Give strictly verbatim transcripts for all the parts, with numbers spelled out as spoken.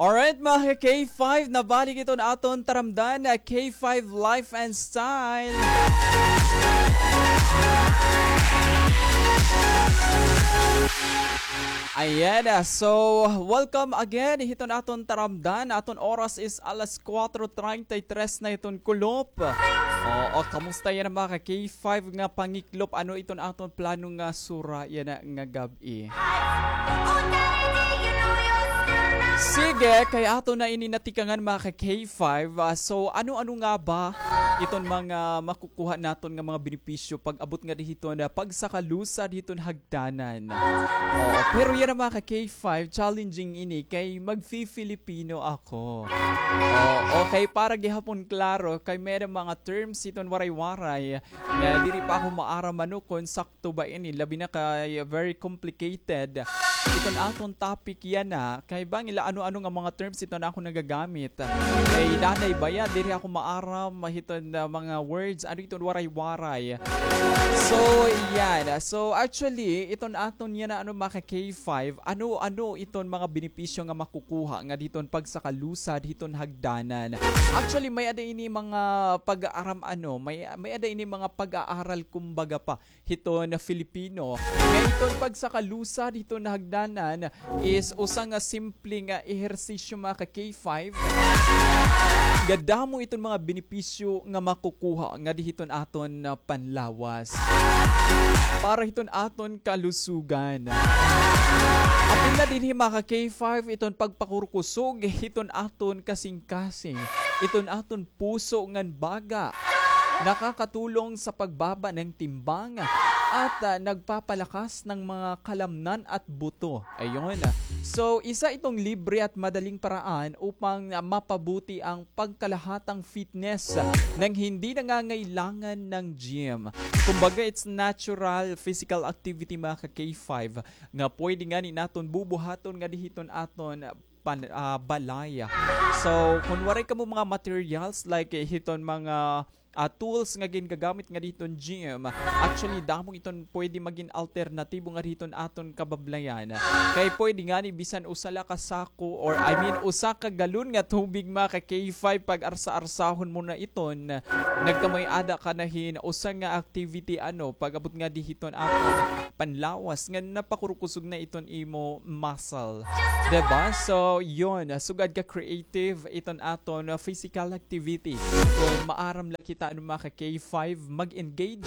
Alright, mga ka-K five, nabalik iton aton taramdan, ah, K five Life and Style. Ayan, ah, so, welcome again hiton aton taramdan. Aton oras is alas kuwatro treinta y tres na hiton kulop. Oo, kamusta yana, mga ka-K five, nga pangiklop? Ano iton aton plano nga sura yana nga gab-i? Sige, kay aton na ini natikangan, mga ka-K five. Ah, so, ano-ano nga ba iton mga makukuha naton nga mga benepisyo pag-abot ngadi hiton pagsakalusad hiton hagdanan? Oo, pero yana, mga ka-K five, challenging ini kay magfi-Filipino ako. Oo, okay, para gihapon klaro, kay may-ada mga terms hiton Waray-Waray nga diri pa ako maaram ano kon sakto ba ini, labi na kay very complicated iton aton topic yana, kay bangin la ano-ano nga mga terms iton akon nagagamit. Kay danay baya, diri ako maaram hiton, ah, mga words, ano iton Waray-Waray. So, yan. So, actually, iton aton yana, ano, mga ka-K five, ano-ano iton mga benepisyo nga makukuha ngadi hiton pagsakalusad hiton hagdanan? Actually, may-ada ini mga pag-aaram, ano, may, may-ada ini mga pag-aaral, kumbaga pa, hiton Filipino. Nga iton pagsakalusad hiton hagdanan is usa nga simple nga ehersisyo, mga ka-K five. Nga damo iton mga benepisyo nga makukuha ngadi hiton aton, ah, panlawas. Para hiton aton kalusugan. Apil na dinhi, mga ka-K five, iton pagpakurkusog hiton aton kasingkasing, iton aton puso ngan baga. Nakakatulong sa pagbaba ng timbang at, ah, nagpapalakas ng mga kalamnan at buto. Ayun. So, isa itong libre at madaling paraan upang, ah, mapabuti ang pagkalahatang fitness nang hindi nangangailangan ng gym. Kumbaga, it's natural physical activity, mga ka-K five, nga pwede ngani naton bubuhaton ngadi hiton aton pan-, ah, balay. So, kun waray kamo mga materials like, eh, hiton mga, ah, tools nga gingagamit ngadi hiton gym, actually, damo iton pwede magin alternatibo ngadi hiton aton kabablayan. Kay pwede ngani bisan usa la ka sako, or, I mean, usa ka galon nga tubig, mga ka-K five, pag-arsa-arsahon mo na iton, nagkamay-ada ka na hin usa nga activity, ano, pag-abot ngadi hiton aton panlawas nga napakurkusog na iton imo muscle. Diba? So, yun, sugad ka creative iton aton, uh, physical activity. Kung maaram la kita, ano, mga ka-K five, mag-engage.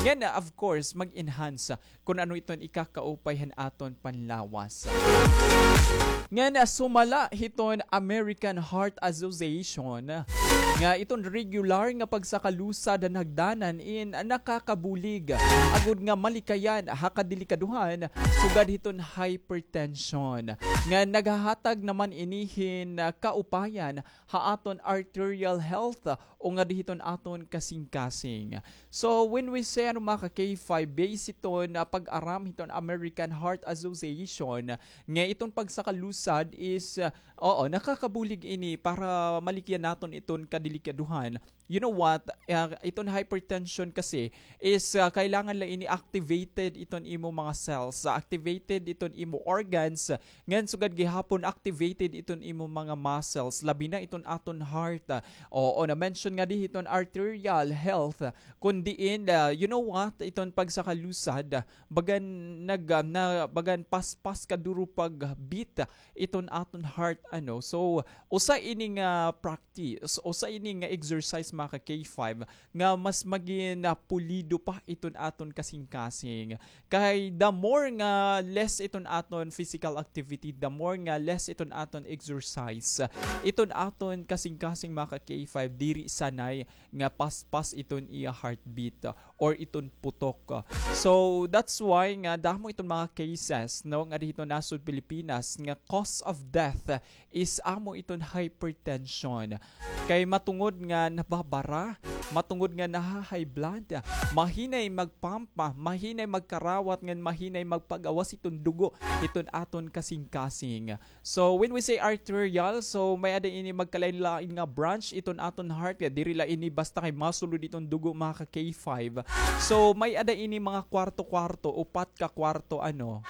Ngan, uh, of course, mag-enhance, uh, kun ano iton ikakaupay han aton panlawas. Ngan, uh, sumala hiton American Heart Association, nga iton regular nga pagsakalusad han hagdanan in nakakabulig agod nga malikayan ha kadelikadohan sugad hiton hypertension, nga naghahatag naman ini hin, ah, kaupayan ha aton arterial health o ngadi hiton aton kasingkasing. So, when we say, ano, mga ka-K five, base hiton, ah, pag-aram hiton American Heart Association, nga iton pagsakalusad is, ah, oo, nakakabulig ini para malikyan naton iton kadelikadohan. You know what? Ah, iton hypertension kasi is, ah, kailangan la ini activated iton imo mga cells, ah, activated iton imo organs, ngan sugad gihapon activated iton imo mga muscles, labi na iton aton heart. Ah, oo, na-mention ngadi hiton arterial health, kun diin, ah, you know what? Iton pagsakalusad, ah, bagan nag-, ah, na, bagan paspas kaduro pag-beat iton aton heart, ano. So, usa ini nga practice, usa ini nga exercise, mga ka-K five, nga mas magin, ah, pulido pa iton aton kasingkasing. Kay the more nga less iton aton physical activity, the more nga less iton aton exercise, iton aton kasingkasing, mga ka-K five, diri sanay nga paspas iton iya heartbeat or iton putok. So, that's why nga damo iton mga cases, no, ngadi hiton nasod Pilipinas nga cause of death is amo iton hypertension. Kay matungod nga nababara, matungod nga naha-high blood, mahinay mag-pump, mahinay magkarawat, ngan mahinay magpagawas iton dugo iton aton kasingkasing. So, when we say arterial, so may-ada ini magkalain-lain nga branch iton aton heart. Kay diri la ini basta kay masulod iton dugo, mga ka-K five. So, may-ada ini mga kwarto-kwarto, upat ka kwarto, ano.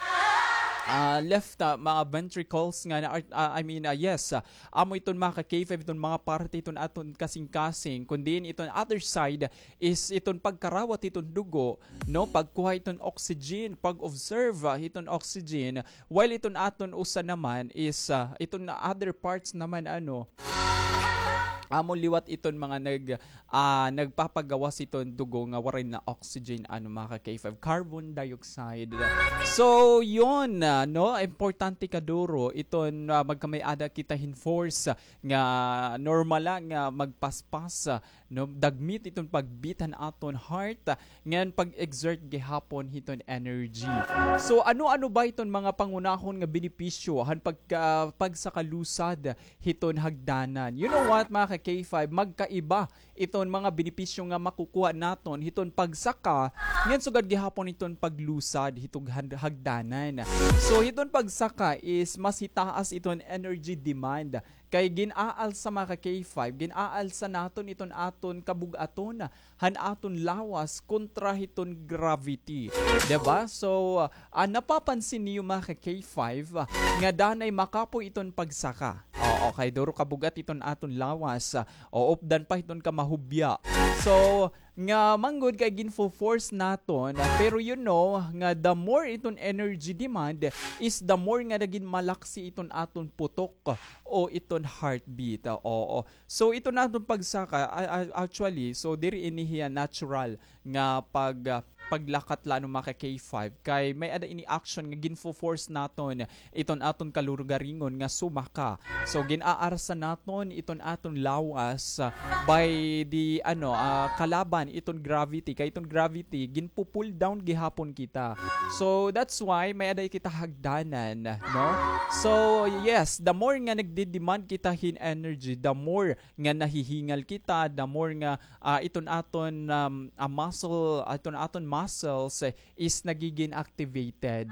ah, left, ah, mga ventricles nga na, ah, I mean, ah, yes, ah, amo iton mga ka-K five, iton mga parte iton aton kasingkasing, kun diin iton other side is iton pagkarawat iton dugo, no, pagkuha iton oxygen, pag-observe, ah, iton oxygen, while iton aton usa naman is, ah, iton other parts naman, ano, amo liwat iton mga nag-, ah, nagpapagawas iton dugo nga waray na oxygen, ano, mga ka-K five, carbon dioxide. So, yun, ah, no, importante kaduro iton, ah, magkamay-ada kita hin force, ah, nga normal la nga magpaspas, ah, no, dagmit iton pag-beat han aton heart, ah, ngan pag-exert gihapon hiton energy. So, ano-ano ba iton mga pangunahon nga benepisyo han pagka-, pagsakalusad hiton hagdanan? You know what, mga ka-K five, magkaiba iton mga benepisyo nga makukuha naton hiton pagsaka, ngan sugad gihapon hiton paglusad hiton han-, hagdanan. So, hiton pagsaka is mas hitaas iton energy demand. Kay gin-aalsa, mga ka-K five, gin-aalsa naton iton aton kabug-aton han aton lawas kontra hiton gravity. Diba? So, ah, napapansin niyo, mga ka-K five, ah, nga danay makapoy iton pagsaka. Oo, kay duro kabug-at iton aton lawas, ah, o updan pa hiton kamahubya. So, nga manggod kay ginfo-force naton, ah, pero you know nga the more iton energy demand is the more nga nagin malaksi iton aton putok o iton heartbeat. Ah, oo. So, iton aton pagsaka, a-, a-, actually, so diri ini hiya natural nga pag-, ah, paglakat la, ano, mga ka-K five, kay may-ada ini action nga ginfo-force naton iton aton kalugaringon nga sumaka. So, gin-aarsa naton iton aton lawas, ah, by the, ano, ah, kalaban iton gravity, kay iton gravity ginpu-pull down gihapon kita. So, that's why may-ada kita hagdanan, no? So, yes, the more nga nagde-demand kita hin energy, the more nga nahihingal kita, the more nga, ah, iton aton, um, ah, muscle, iton aton muscles, eh, is nagigin activated.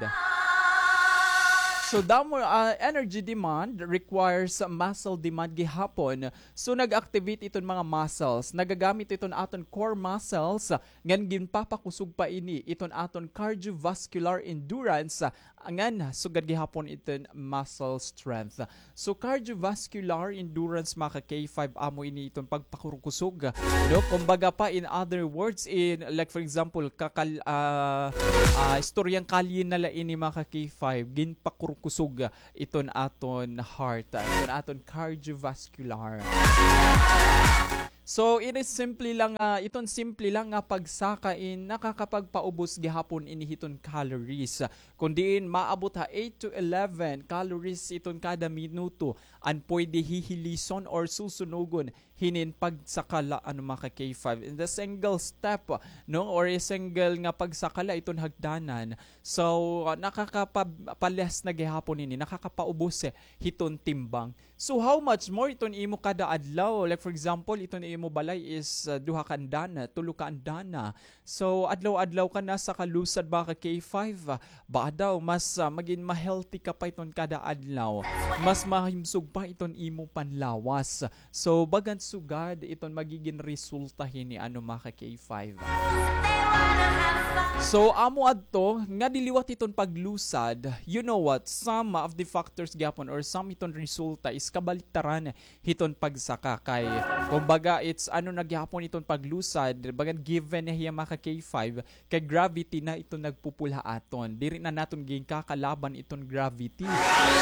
So, the more, ah, energy demand requires muscle demand gihapon. So, nag-activate iton mga muscles. Nagagamit iton aton core muscles, ngan ginpapakusog pa ini iton aton cardiovascular endurance, ngan sugad gihapon iton muscle strength. So, cardiovascular endurance, mga ka-K five, amo ini iton pagpakurkusog, no? Kumbaga pa, in other words, in, like, for example, kakal-, ah, ah, istoryang kalye na la ini, mga ka-K five, ginpakurkusog iton aton heart, ah, iton aton cardiovascular. So, ini simple lang, ah, iton simple lang nga pagsaka in nakakapagpaubos gihapon ini hiton calories. Kun diin maabot ha eight to eleven calories iton kada minuto an pwede hihilason or susunugon hinin pagsaka la, ano, mga ka-K five. In the single step, no, or a single nga pagsaka la iton hagdanan. So, ah, nakakapa-, pa-less na gihapon ini, nakakapaubos, eh, hiton timbang. So, how much more iton imo kada adlaw? Like, for example, iton imo balay is, ah, duha ka andana, tulo ka andana. So, adlaw-adlaw ka nasakalusad, mga ka-K five, ah, baka daw mas, ah, magin ma-healthy ka pa iton kada adlaw. Mas mahimsog pa iton imo panlawas. So, bagan sugad iton magigin resulta hini, ano, mga ka-K five. So, amo adto nga diliwat iton paglusad, you know what, some of the factors gihapon or some iton resulta is kabaliktaran hiton pagsaka. Kay, kumbaga, it's ano na gihapon iton paglusad, bagan given na hiya, mga ka-K five, kay gravity na iton nagpu-pull ha aton. Diri na naton ginkakalaban iton gravity.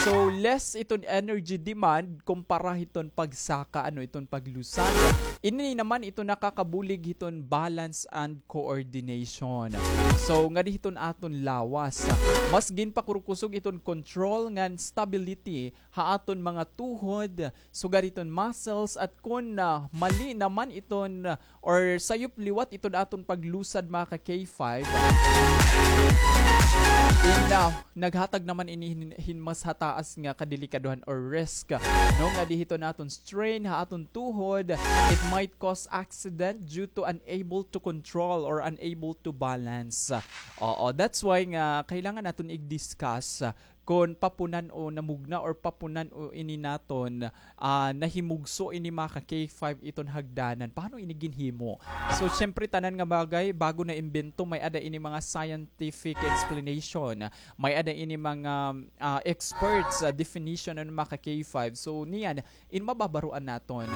So, less iton energy demand kumpara hiton pagsaka, ano, iton paglusad. Ini naman iton nakakabulig hiton balance and coordination. So, ngadi hiton aton lawas. Mas ginpakurkusog iton control ngan stability ha aton mga tuhod, sugad hiton muscles, at kon, ah, mali naman iton, ah, or sayop liwat iton aton paglusad, mga ka-K five, in, ah, naghatag naman ini hin, hin mas hataas nga kadelikadohan or risk, no, ngadi hiton aton strain ha aton tuhod, it might cause accident due to unable to control or unable to balance. Oo, that's why nga kailangan naton i-discuss, ah, kon papunan o namugna or papunan o ini naton, ah, nahimugso ini mga ka K five iton hagdanan. Paano ini ginhimo? So, syempre, tanan nga bagay, bago na imbento, may ada ini mga scientific explanation. May ada ini mga, ah, experts, ah, definition ano mga ka K five. So, niyan, in mababaroan naton.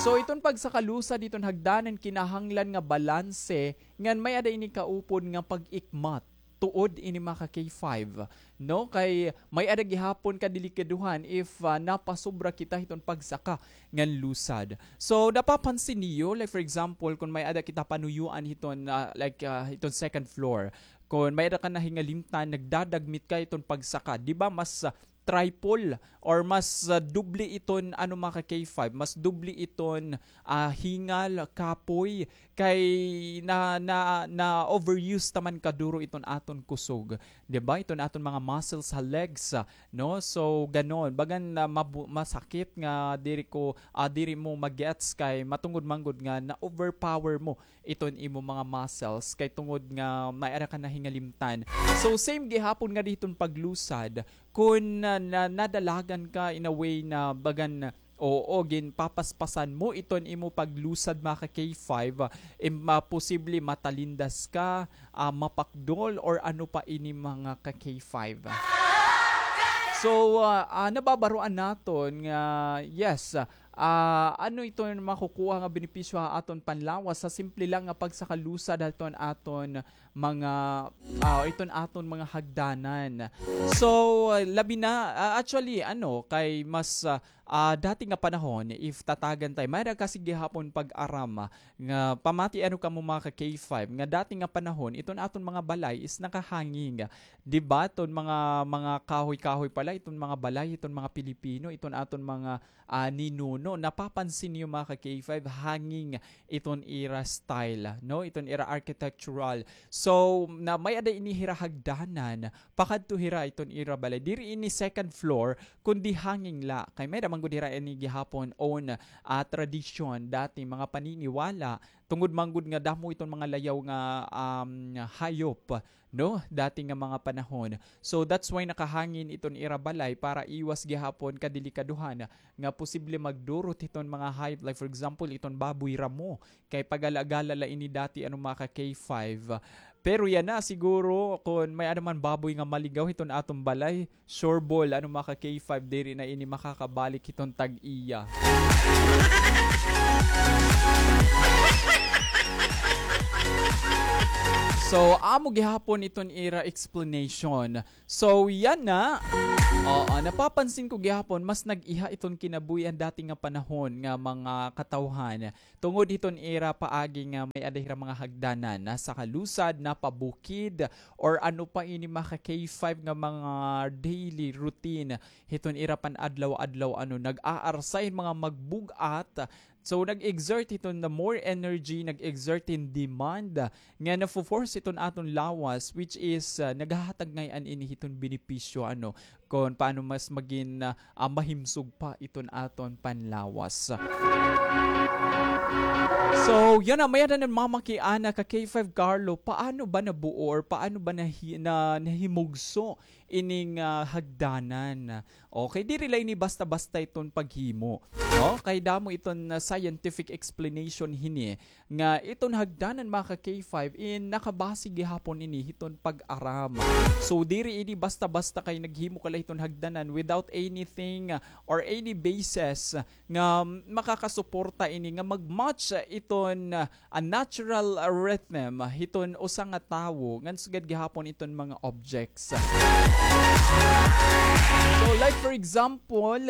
So, iton pagsakalusad iton hagdanan kinahanglan nga balanse, ngan may ada ini kaupod nga pag-ikmat tuod ini mga ka K five, no? Kay may ada gihapon kadelikaduhan if, ah, napasobra kita hiton pagsaka ngan lusad. So, napapansin niyo, like for example, kung may ada kita panuyuan hiton, ah, like, ah, hiton second floor, kung may ada ka nahingalimtan, nagdadagmit ka hiton pagsaka, di ba mas, ah, triple or mas, ah, doble iton, ano, mga ka K five, mas doble iton, ah, hingal, kapoy, kay na, na, na-overuse ta man kaduro iton aton kusog, di ba? Iton aton mga muscles ha legs, ah, no? So, ganon. Bagan na mabu-, masakit nga diri ko, ah, diri mo magets kay matungod man gud nga na-overpower mo iton imo mga muscles kay tungod nga may ara ka nahingalimtan. So, same gihapon nga diton paglusad, kun na, na, nadalagan ka in a way na bagan, oo, ginpapaspasan mo iton imo paglusad, mga ka K five, im-, ah, posible matalindas ka, ah, mapakdol, or ano pa ini, mga ka K five. So, ah, ah, nababaroan naton nga, yes, ah, ano iton makukuha nga benepisyo ha aton panlawas sa simple lang nga pagsakalusad aton, aton mga, ah, iton aton mga hagdanan. So, labi na, ah, actually, ano, kay mas, ah, ah, dati nga panahon, if tatagan tay, mayra kasi gihapon pag-aram, ah, nga pamati ano kamo mga ka K five, nga dati nga panahon, iton aton mga balay is nakahanging. Di ba? Iton mga, mga kahoy-kahoy pala, iton mga balay, iton mga Pilipino, iton aton mga ah, ninuno. Napapansin niyo, mga ka K five, hanging iton ira style, no? Iton ira architectural. So, na may ada ini hira hagdanan, pakadto hira iton ira balay. Diri ini second floor, kundi hanging la. Kay may da man gud hira ini gihapon own, ah, tradisyon, dati mga paniniwala, tungod man gud nga damo iton mga layaw nga, um, hayop, no, dati nga mga panahon. So, that's why nakahangin iton ira balay para iwas gihapon kadelikaduhan nga posible magdurot hiton mga hayop. Like, for example, iton baboy ramo. Kay pagala-gala la ini dati, ano, mga ka K five. Pero yana, siguro, kun may ano man baboy nga maligaw hiton aton balay, sure ball, ano, mga ka K five, diri na ini makakabalik hiton tag-iya. So, amo gihapon iton ira explanation. So, yana. Oo, napapansin ko gihapon, mas nag-iha iton kinabuhian dati nga panahon nga mga katawhan. Tungod hiton ira paagi nga may ada hira mga hagdanan, nasakalusad, napabukid, or ano pa ini mga ka K five nga mga daily routine. Hiton ira pan-adlaw-adlaw, ano, nag-aarsa hin mga magbug-at. So, nag-exert hiton na more energy, nag-exert hin demand, nga nafo-force hiton aton lawas, which is, ah, naghahatag ngay-an ini hiton benepisyo, ano, kon paano mas magin, ah, ah, mahimsog pa iton aton panlawas. So, yana, may-ada namamakiana ka K five Carlo, paano ba nabuo or paano ba nahi-, na, nahimugso ining, ah, hagdanan? Okay, diri la ini basta-basta iton paghimo, no? Kay damo iton, ah, scientific explanation hini. Nga iton hagdanan, mga ka K five, in nakabase gihapon ini hiton pag-aram. So, diri ini basta-basta kay naghimo ka la hiton hagdanan without anything, uh, or any basis nga makakasuporta ini nga mag-match, uh, iton, uh, a natural, uh, rhythm hiton usa nga tawo ngan sugad gihapon iton mga objects. So, like for example,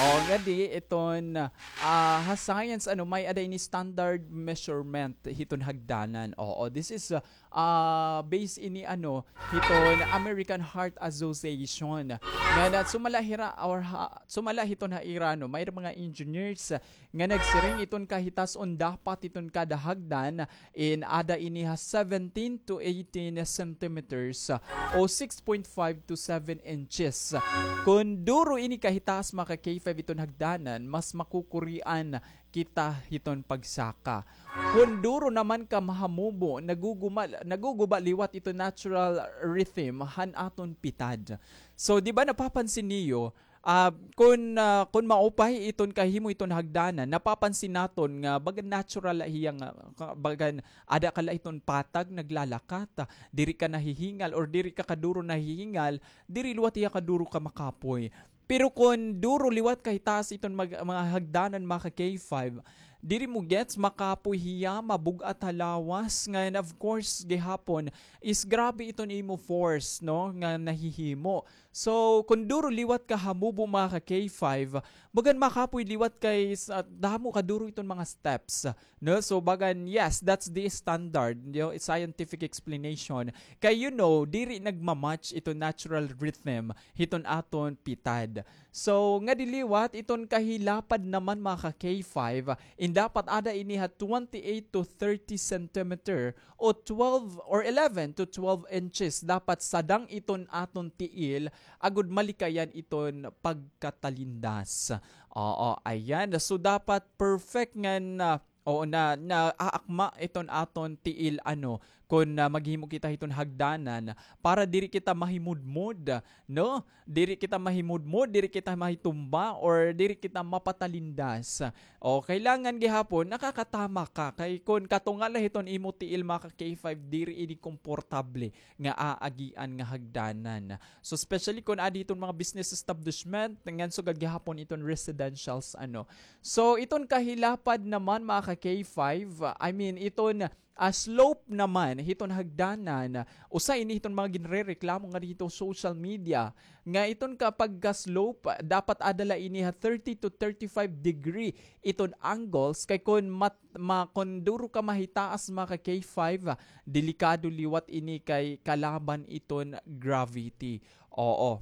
oh, ngadi iton, ah, ha science, ano, may-ada ini standard measurement hiton hagdanan. Oo, this is, ah, ah, based ini, ano, hiton American Heart Association. Nga na sumala hira or ha, sumala hiton ha ira, no, may mga engineers nga nagsiring iton kahitas-on dapat hiton kada hagdan in ada ini ha seventeen to eighteen centimeters, o six point five to seven inches. Kon duro ini kahitaas, mga ka K five, iton hagdanan, mas makukurian kita hiton pagsaka. Kon duro naman ka mahamubo, naguguma-, naguguba liwat iton natural rhythm han aton pitad. So, di ba napapansin niyo, ah, kon, ah, kon maupay iton kahimo iton hagdanan, napapansin naton nga bagan natural la hiya nga, ka-, bagan ada ka la hiton patag naglalakat, ah, diri ka nahihingal or diri ka kaduro nahihingal, diri liwat hiya kaduro ka makapoy. Pero kon duro liwat ka hitaas iton mag-, mga hagdanan, mga ka K five, diri mo gets, makapoy hiya, mabug-at ha lawas, ngan of course, gihapon, is grabe iton imo force, no, nga nahihimo. So, kon duro liwat ka hamubo, mga ka K five, bagan makapoy liwat kay sa damo kaduro iton mga steps. No? So, bagan, yes, that's the standard, you know, it's scientific explanation. Kay, you know, diri nagmamatch iton natural rhythm hiton aton pitad. So, ngadi liwat, iton kahilapad naman, mga ka K five, in dapat ada ini ha twenty-eight to thirty centimeter o twelve or eleven to twelve inches. Dapat sadang iton aton tiil agod malikayan iton pagkatalindas. Oo, ayan. So, dapat perfect ngan, ah, oo, na, naaakma iton aton tiil, ano, kon, ah, maghimo kita hiton hagdanan para diri kita mahimudmod, no? Diri kita mahimudmod, diri kita mahitumba, or diri kita mapatalindas. O, kailangan gihapon, nakakatama ka. Kay kon katunga la hiton imo tiil, mga ka K five, diri ini komportable nga aagian nga hagdanan. So, especially kon adi iton mga business establishment, ngan sugad gihapon iton residentials, ano. So, iton kahilapad naman, mga ka K five, I mean, iton, ah, slope naman hiton hagdanan, usa ini hiton mga ginrereklamo nga dito social media, nga iton ka pagka-slope, dapat ada la ini ha thirty to thirty-five degree iton angles, kay kon mat-, ma-, kon duro ka mahitaas, mga ka K five, delikado liwat ini kay kalaban iton gravity. Oo.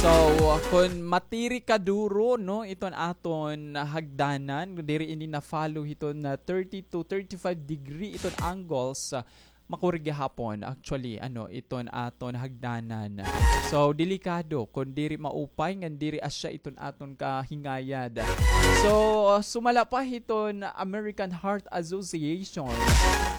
So, kon matiri ka duro, no, iton aton hagdanan, diri ini na-follow hiton, ah, thirty to thirty-five degree iton angles, ah, makuri gihapon, actually, ano, iton aton hagdanan. So, delikado kon diri maupay ngan diri asya iton aton kahingayad. So, ah, sumala pa hiton American Heart Association,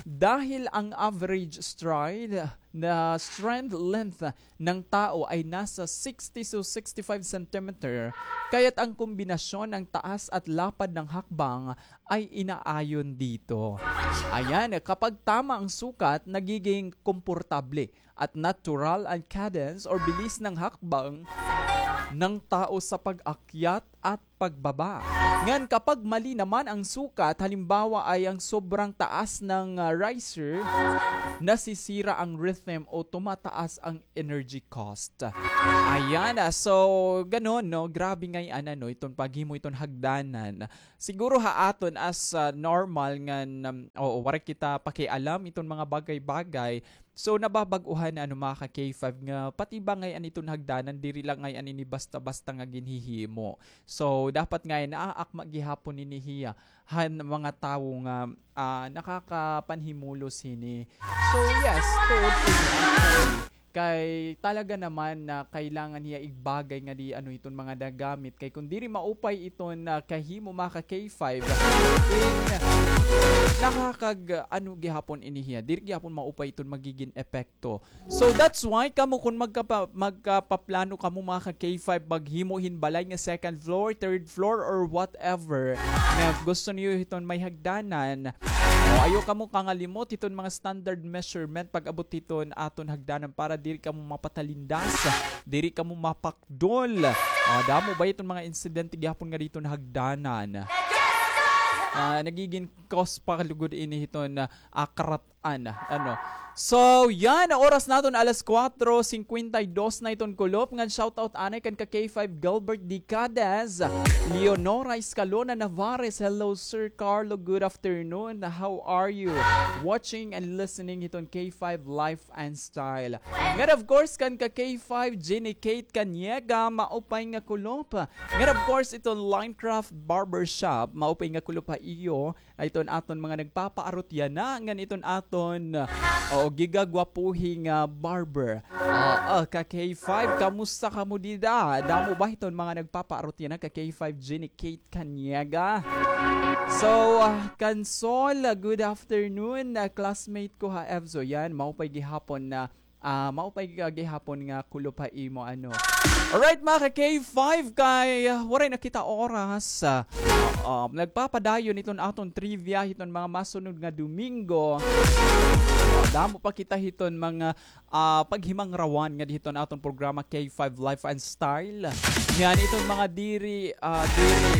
dahil ang average stride na stride length ng tao ay nasa sixty to sixty-five centimeter, kaya't ang kombinasyon ng taas at lapad ng hakbang ay inaayon dito. Ayan, kapag tama ang sukat, nagiging komportable at natural ang cadence or bilis ng hakbang ng tao sa pag-akyat at pagbaba. Ngan kapag mali naman ang sukat, halimbawa ay ang sobrang taas ng, ah, riser, nasisira ang rhythm o tumataas ang energy cost. Ayan, ah, so, ganon, no? Grabe ngay-an, ano, iton paghimo iton hagdanan. Siguro ha aton as, ah, normal nga, um, oo, waray kita pakialam iton mga bagay-bagay. So, nababag-uhan, ano, mga ka K five, nga pati ba ngay-an iton hagdanan, diri la ngay-an ini basta-basta nga ginhihimo. So, dapat ngay-an naaakma gihapon ini hiya han mga tawo nga, ah, nakakapanhimulos hini. So, yes, tuod ini, actually. Kay talaga naman na kailangan hiya igbagay nga di ano iton mga nagamit. Kay kon diri maupay iton, ah, kahimo, mga ka K five, in nakakag-, ano gihapon ini hiya. Diri gihapon maupay iton magigin epekto. So that's why kamo kon magkapa-, magkapaplano kamo, mga ka K five, maghimo hin balay nga second floor, third floor, or whatever, nga gusto niyo hiton may hagdanan, o, ayaw kamo kangalimot hiton mga standard measurement pag-abot hiton aton hagdanan para diri kamo mapatalindas, diri kamo mapakdol. Ah, damo ba iton mga insidente gihapon nga dito na hagdanan? Ah, nagiging cause pa lugod ini hiton, ah, akarat An, ano. So, yan, oras naton alas kuwatro singkwenta y dos na iton kulop. Ngan shoutout anay kan ka K five Gilbert Dicades, Leonora Escalona Navarez. Hello, Sir Carlo. Good afternoon. How are you? Watching and listening hiton K five Life and Style. Ngan, of course, kan ka K five Jenny Kate Caniega, maupay nga kulop. Ngan, of course, iton Linecraft Barbershop, maupay nga kulop ha iyo. Ay iton aton mga nagpapaarot yana, ngan iton aton, o, gigagwapuhi nga barber. Oo, ka K five, kamusta kamo dida? Damo ba hiton mga nagpapaarot yana ka K five, Jenny Kate Kaniaga? So, ah, Kansol, ah, good afternoon, ah, classmate ko ha EVSO. Yan, maupay gihapon na, ah, maupay ka gihapon nga kulop ha imo, ano. Alright, mga ka K five, kay, ah, waray na kita oras, ah, oo, nagpapadayon iton aton trivia hiton mga masunod nga Domingo. Damo pa kita hiton mga ah, paghimangrawan nga didto ha aton programa K five Life and Style. Ngan iton mga diri, ah, diri,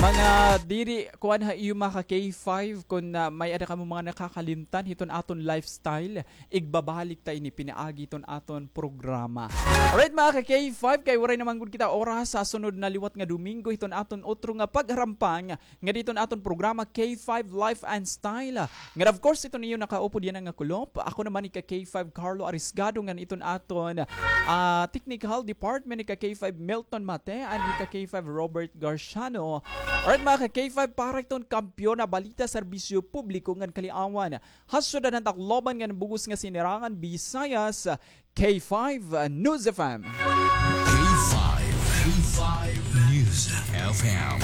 mga diri, kuan ha iyo mga ka K five, kun, ah, may-ada kamo mga nakakalimtan hiton aton lifestyle, igbabalik ta ini pinaagi hiton aton programa. Alright, mga ka K five, kay waray na man gud kita oras ha sunod na liwat nga Domingo hiton aton otro nga pagharampang nga didto ha aton programa K five Life and Style. Ngan of course, iton iyo nakaupod yana nga kulop. Ako naman ika K five Carlo Arisgado ngan iton aton, ah, technical department ika K five Milton Mate and ika K five Robert Garciano. Alright, mga ka K five, para iton kampiyon ha balita, serbisyo publiko ngan kaliawan ha syudad han Tacloban ngan bug-os nga Sinirangan Visayas, K five News F M. K five, K five News F M,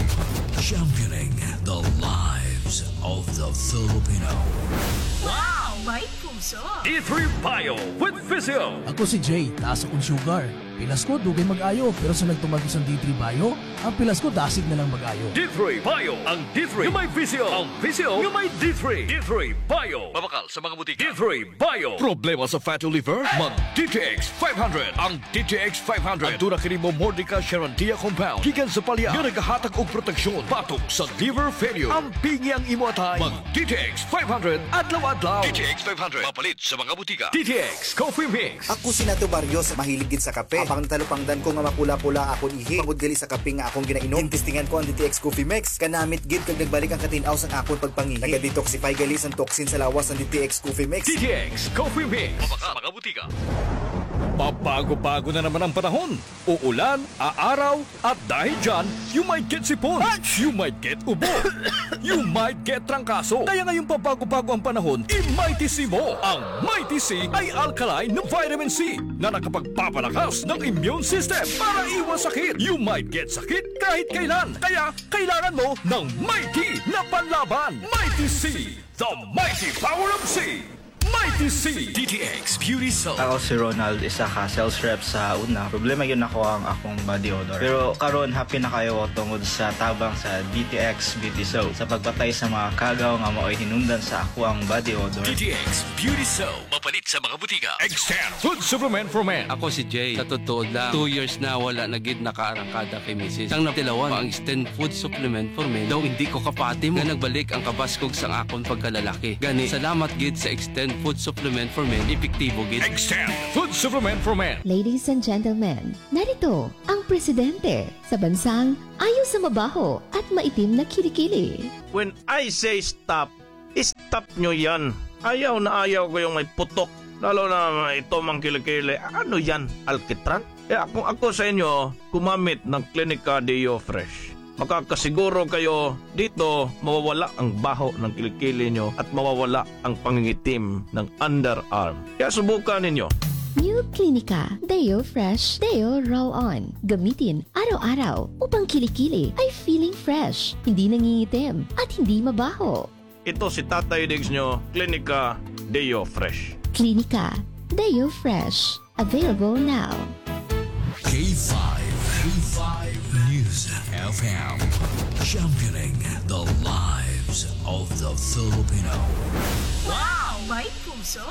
championing the lives of the Filipino. Wow! May puso! D three Bio with Visio. Ako si Jay, taas akon sugar. Pilas ko, dugay mag-ayo, pero sa nagtumar ko sa D three Bio, ang pilas ko dasig na lang mag-ayo. D three Bio, ang D three nga may Visio, ang Visio nga may D three. D three Bio. Mabakal sa mga butika. D three Bio. Problema sa fatty liver? Mag D T X five hundred. Ang D T X five hundred. Aduna kini Momordica charantia compound gikan sa palya nga nagahatag og proteksyon batok sa liver failure. Ampingi ang imo atay. Mag D T X five hundred adlaw-adlaw. D T X five hundred. Mapalit sa mga butika. D T X Coffee Mix. Ako si Nato Barrios, mahilig gid sa kape. Habang natalupangdan ko nga mapula-pula akon ihi, bangod gali sa kape nga akon ginainom, gintistingan ko ang D T X Coffee Mix. Kanamit gid kag nagbalik ang katin-aw sang akon pagpangihi. Naga-detoxify gali sang toxin sa lawas ang D T X Coffee Mix. D T X Coffee Mix. Mabakal sa mga butika. Pabago-bago na naman ang panahon. Uulan, aaraw, at dahil dyan, you might get sipon, you might get ubo, you might get trangkaso. Kaya ngayong pabago-bago ang panahon, i-Mighty C mo. Ang Mighty C ay alkaline na vitamin C na nakapagpapalakas ng immune system para iwas sakit. You might get sakit kahit kailan. Kaya kailangan mo ng Mighty na panlaban. Mighty C, the mighty power of C. Mighty C. D T X Beauty Soap. Ako si Ronald, isa ka sales rep sa una. Problema gyud nako ang akong body odor. Pero karon, happy na kaayo ko tungod sa tabang sa D T X Beauty Soap sa pagpatay sa mga kagaw nga maoy hinungdan sa ako ang body odor. D T X Beauty Soap. Mapalit sa mga butika. Extend Food Supplement for Men. Ako si Jay. Sa totoo lang, two years na wala na gid nakaarangkada kay misis. Sang natilawan, ang Extend Food Supplement for Men daw hindi ko kapati mo nga nagbalik ang kabaskog sang akon pagkalalaki. Gani, salamat gid sa Extend Food Supplement for Men, epektibo gid. Extend Food Supplement for Men. Ladies and gentlemen, narito ang presidente sa bansang ayaw sa mabaho at maitim na kilikili. When I say stop, stop nyo yan. Ayaw na ayaw ko yung may putok. Lalo na ito mang kilikili. Ano yan? Alkitran? Kaya kung ako sa inyo, gumamit ng Clinica Deo Fresh. Makakasiguro kayo dito mawawala ang baho ng kilikili nyo at mawawala ang pangingitim ng underarm. Kaya subukan ninyo. New Clinica Deo Fresh Deo Roll On. Gamitin araw-araw upang kilikili ay feeling fresh, hindi nangingitim, at hindi mabaho. Ito si Tatay Diggs nyo, Clinica Deo Fresh. Clinica Deo Fresh. Available now. K five, K five News F M. Championing the lives of the Filipino. Wow! May puso!